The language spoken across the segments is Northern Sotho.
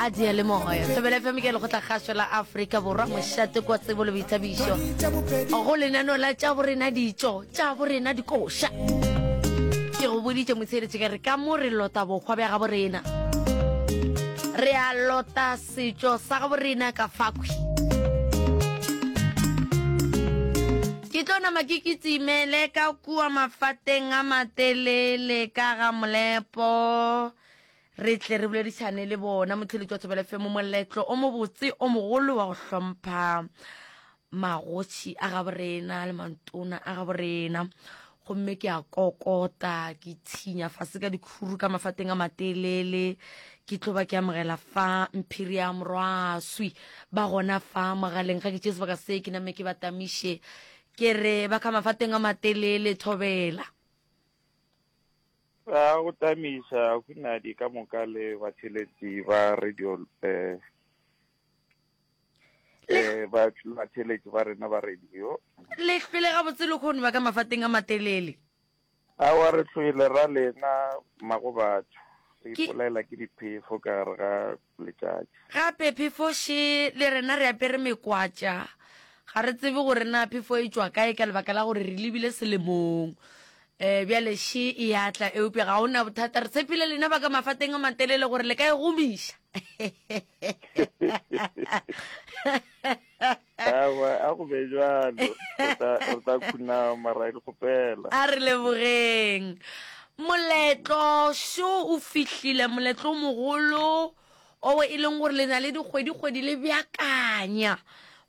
A diyalemoya. Thobela FM ke lekgotlakgašo la Afrika Borwa, mošate kwa tsebo le boithabišo. Go lenaneo la tša borena ditšo, tša borena dikoša. Ke go boditše motsheletše ka re ka mo re lota bohwa bja gabo rena. Re a lota setšo sa gabo rena ka fakhwi. Ke tlo nama ke kitsimele ka kua mafateng a matelele ka ga molepo. Re tle re boledišane le bona motheletši wa Thobela FM moletlo o mobotse o mogolo wa go hlompha magoši a gaborena le mantona a gaborena. Gomme ke a kokota, ke thinya fase ka dikhuru ka mafateng a matelele, ke tlo ba ke amogela fa Mphiri ya Morwaswi ba gona fa mogaleng. Ga ke tšee sebaka se ke name ke ba tamiše, ke re ba ka mafateng a matelele Thobela. Ra go tamiša Hunadi ka moka le batheletši ba radio eh, eh, ba batheletši ba rena ba radio. Le hlwele gabotse le kgone ba ka mafateng a matelele. Aowa re hlwele ra lena mmago batho. Re ipolaela ke diphefo ka gare ga letšatši. Gape phefo še le rena re apere mekwatša. Ga re tsebe gore na phefo e tšwa kae ka lebaka la gore re lebile selemong. Um bjale še e a tla eupša ga o na bothata. Re tshepile lena ba ka mafateng a matelele gore le ka e gomiša. Aowa, a go be bjalo. Re tla, re tla khunama ra e kgopela. A re lebogeng. Moletlo šo o fihlile, moletlo o mogolo owe e leng gore le na le dikgwedi-kgwedi le beakanya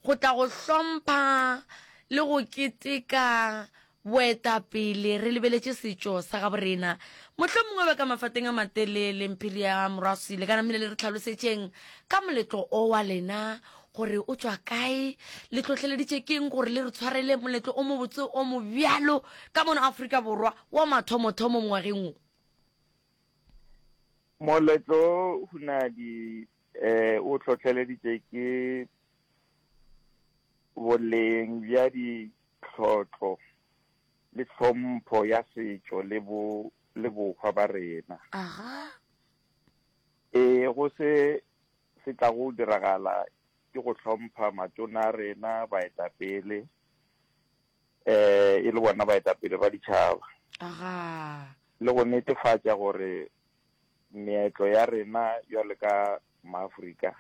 go tla go hlompha le go keteka Boetapele, re lebeletše setšo sa gaborena. Mohlomongwe ba ka mafateng a matelele, Mphiri ya Morwaswi, le ka namile le re hlalosetšeng ka moletlo o wa lena, gore o tšwa kae, le hlohleleditše keng gore le re tshwarele moletlo o mobotse o mobjalo ka mono Afrika Borwa wa mathomothomo ngwageng wo. Moletlo o, Hunadi, o hlohleleditše ke boleng bja ditlhotlo le tlhompho ya setšo le bo le bohwa ba rena. Aga. Ee, go se se tlago diragala ke go hlompha matona a rena, baetapele, eh, e le bona baetapele ba ditšhaba. Aga. Le go netefatša gore meetlo ya rena bjalo ka Maafrika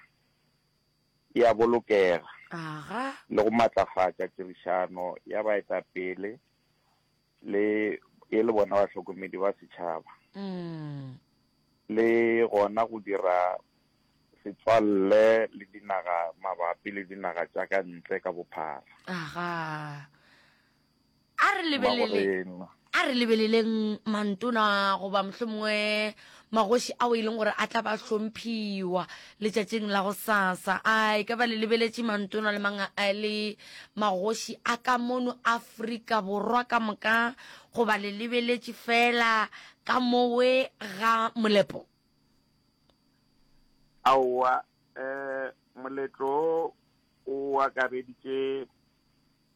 e a bolokega Aga. le go matlafatša tirišano ya baetapele le e le bona bahlokomedi ba setšhaba. Mm. Le gona go dira setswalle le dinaga mabapi le dinaga tša ka ntle ka bophara. Aga. A re lebelele a re lebeleleng mantona goba mohlomongwe magoši ao e leng gore a tla ba hlomphiwa letšatšing la go sasa. A e ka ba le lebeletše mantona le manga le magoši a ka mono Afrika Borwa ka moka goba le lebeletše fela ka mowe ga molepo? Aowa, um moletlo o akareditše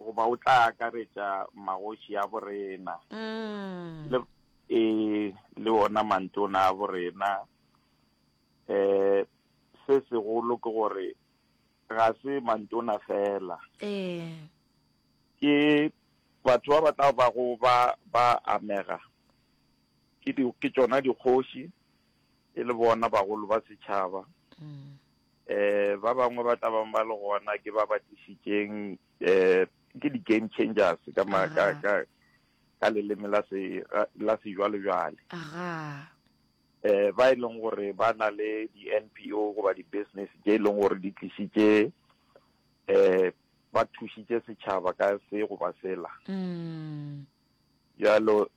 goba o tla akaretša magoši a borena mm. le e le ona mantona a borena. Um se segolo ke gore ga se mantona fela, ee ke batho ba ba tla bago ba ba amega ke di ke tšona dikgoši e le bona bagolo ba setšhaba. Mm. Eh, ba bangwe ba tla bang ba le gona ke ba ba tlišitšeng eh ke di-game changers ka ma, ka, Aga. ka, ka leleme la se la sejwalejwale. Aga. Eh, ba e leng gore ba na le di-N_P_O goba di-business tše e leng gore di tlišitše eh ba thušitše setšhaba ka se goba sela. Mm. Bjalo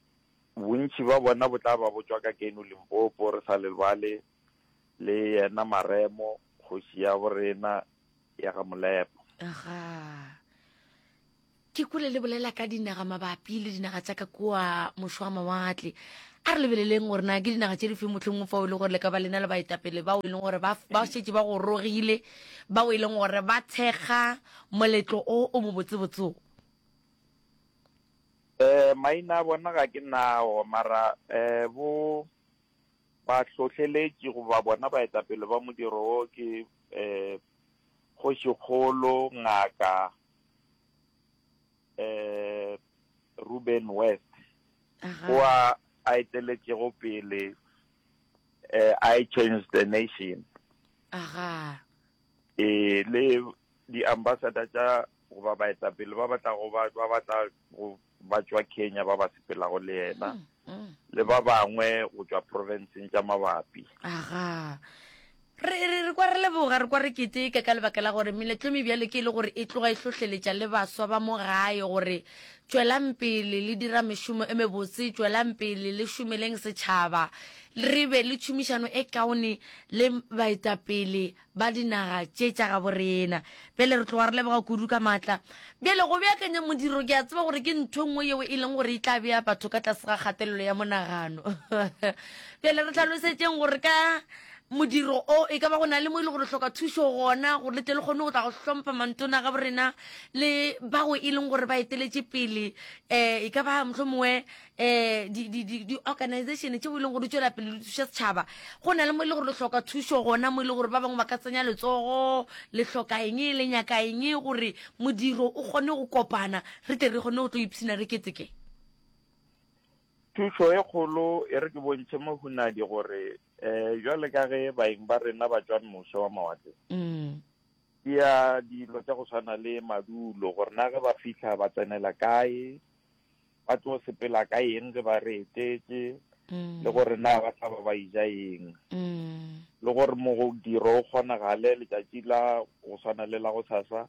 bontši ba bona bo tla ba bo tšwa ka keno Limpopo, re sa lebale le yena Maremo, kgoši ya borena ya ga Molepo. Aga. Ke kwele le bolela ka dinaga mabapi le dinaga tša ka kua mošo wa mawatle. A re lebeleleng gore na ke dinaga tše di feng mohlomongwe fao e le gore le ka ba lena le baetapele bao e leng gore ba, ba šetše ba gorogile, bao e leng gore ba thekga moletlo o o mobotsebotse o. Eh, maina a bona ga ke nao, mara eh, bo. Bahlohleletši goba bona baetapele ba modiro wo ke um Kgošikgolo Ngaka um Ruben West, o a a eteletšego pele um I Change the Nation. Aga. Ee, le di-ambassador tša goba baetapele ba ba tlago ba ba tla go ba tšwa Kenya ba ba sepelago le yena mm, mm. le ba bangwe go tšwa provinceng tša mabapi. Aga. Re, re, re kwa re leboga, re kwa re keteka ka lebaka la gore meletlo e mebjalo ke e le gore e tloga e hlohleletša le baswa ba mo gae gore tšwelang pele le dira mešomo e mebotse, tšwelang pele le šomeleng setšhaba, re be le tšhomišano e kaone le baetapele ba dinaga tše tša gabo rena. Bjale re tloga re leboga kudu ka maatla. Bjale go beakanya modiro ke a tseba gore ke ntho e nngwe yeo e leng gore e tla bea batho ka tlase ga kgatelelo ya monagano. Bjale re hlalosetšeng gore ka modiro o e ka ba go na le mo e le gore hloka thušo gona gore le tle le kgone go tla go hlompha mantona ga borena le bao e leng gore ba eteletše pele um e ka ba mohlomongwe um di-organization tšeo e leng gore di tšwela pele di thuša setšhaba go na le mo e le gore le hloka thušo gona mo e le gore ba bangwe ba ka tsenya letsogo le hloka eng le nyaka eng gore modiro o kgone go kopana re tle re kgone go tlo ipshina re keteke Thušo e kgolo e re ke bontšhe Mohunadi gore um bjale ka ge baeng ba rena ba tšwa moše wa mawatle mm. ke ya dilo tša go swana le madulo gore na ge ba fihla ba tsenela kae ba tlo sepela ka eng ge ba re etetše mm. le gore na ba tla ba ba ija eng mm. le gore modiro o kgonagale letšatši la go swana le la go sasa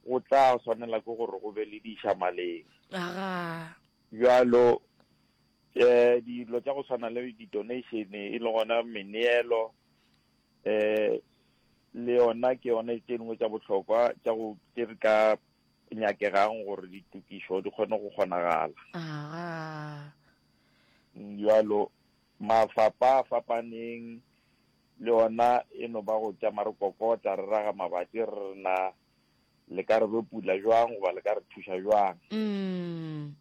go tla swanela ke gore go be le dišamaleng aga bjalo um dilo tša go swana le di-donation e le gona meneelo um le yona ke yone tše dingwe tša bohlokwa tša go tše re ka nyakegang gore ditokišo di kgone go kgonagala. Aga. Bjalo mafapa a fapaneng le ona e no ba go tšama re kokota re raga mabati re re na le ka re be pula jwang goba le ka re thuša jwang. Mm.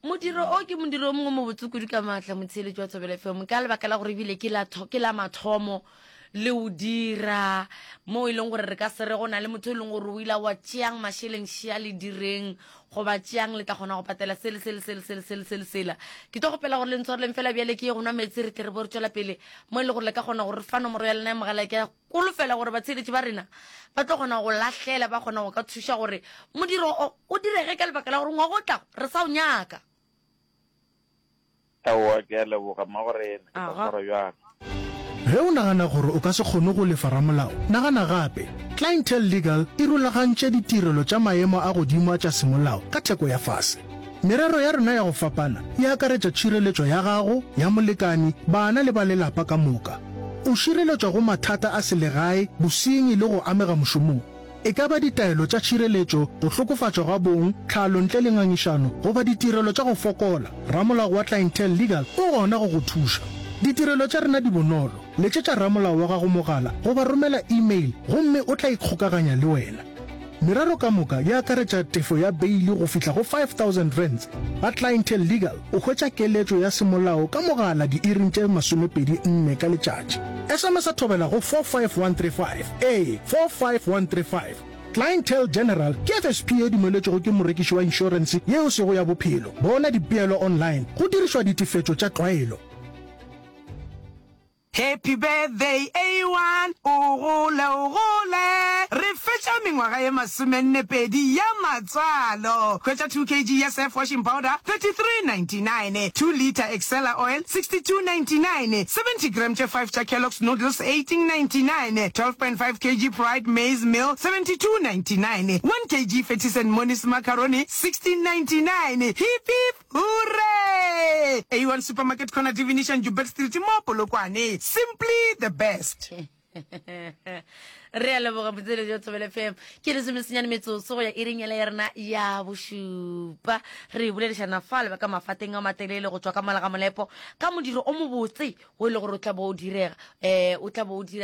Modiro o ke modiro o mongwe mobotse kudu ka maatla motheeletši wa Thobela FM ka lebaka la gore ebile ke la ke la mathomo le o dira mo e leng gore re ka se re go na le motho e leng gore o ile wa tšeang mašeleng šea le direng goba tšeang le tla kgona go patela sele sele sele sele sele sele sela ke tlo gopela gore le ntshwareleng fela bjale ke ye go nwa meetse re tle re bo re tšwela pele mo e le gore le ka kgona gore fa nomoro ya lena ya mogala ke Kolofela gore batsheletši ba rena ba tlo kgona go lahlela, ba kgona go ka thuša gore modiro o o direge ka lebaka la gore ngwaga o tlago re sa o nyaka. Aowa, ke a leboga mmagorena, ke tla swara bjang? Ge o nagana gore o ka se kgone go lefa ramolao, nagana gape. Clientele Legal e rulagantše ditirelo tša maemo a godimo a tša semolao ka theko ya fase. Merero ya rena ya go fapana e akaretša tšhireletšo ya gago, ya molekani, bana le ba lelapa ka moka. O šireletšwa go mathata a selegae, bosenyi le go amega mošomong. E ka ba ditaelo tša tšhireletšo, go hlokofatšwa ga bong, tlhalo ntle le ngangišano, goba ditirelo tša go fokola, ramolao wa Clientele Legal o gona go go thuša. Ditirelo tša rena di bonolo, letšetša ramolao wa gago mogala goba romela email gomme o tla ikgokaganya le wena. Merero ka moka e akaretša tefo ya beili go fihla go R5000. Ba Clientele Legal o hwetša keletšo ya semolao ka mogala diiring tše 24 ka letšatši. SMS-a thobela go 45135, ee, 45135. Clientele General ke FSP ye dumeletšwego ke morekiši wa inšorense ye e sego ya bophelo. Bona dipeelo online go dirišwa ditefetšo tša tlwaelo. Happy birthday A1, o gole o gole! Re fetša mengwaga ye masomennepedi ya matswalo. Hwetša 2 kg ya Surf washing powder, 33.99, 2 litre Excella oil, 62.99, 70 gram tše 5 tša Kellogg's noodles, 18.99, 12.5 kg Pride maize meal, 72.99, 1 kg Fatties and Monies macaroni, 16.99. Hip hip! Hooray! A1 Supermarket Corner Divination Joubert Street mo Polokwane. Simply the best. Re a leboga motseletši wa Thobela FM. Ke lesomesenyane metsotso go ya iring yela ya rena ya bošupa. Re boledišana fa le ba ka mafateng a matelele go tšwa ka mola ga molepo ka modiro o mobotse o e le gore o tla bo o direga. Eh, o tla bo o dira.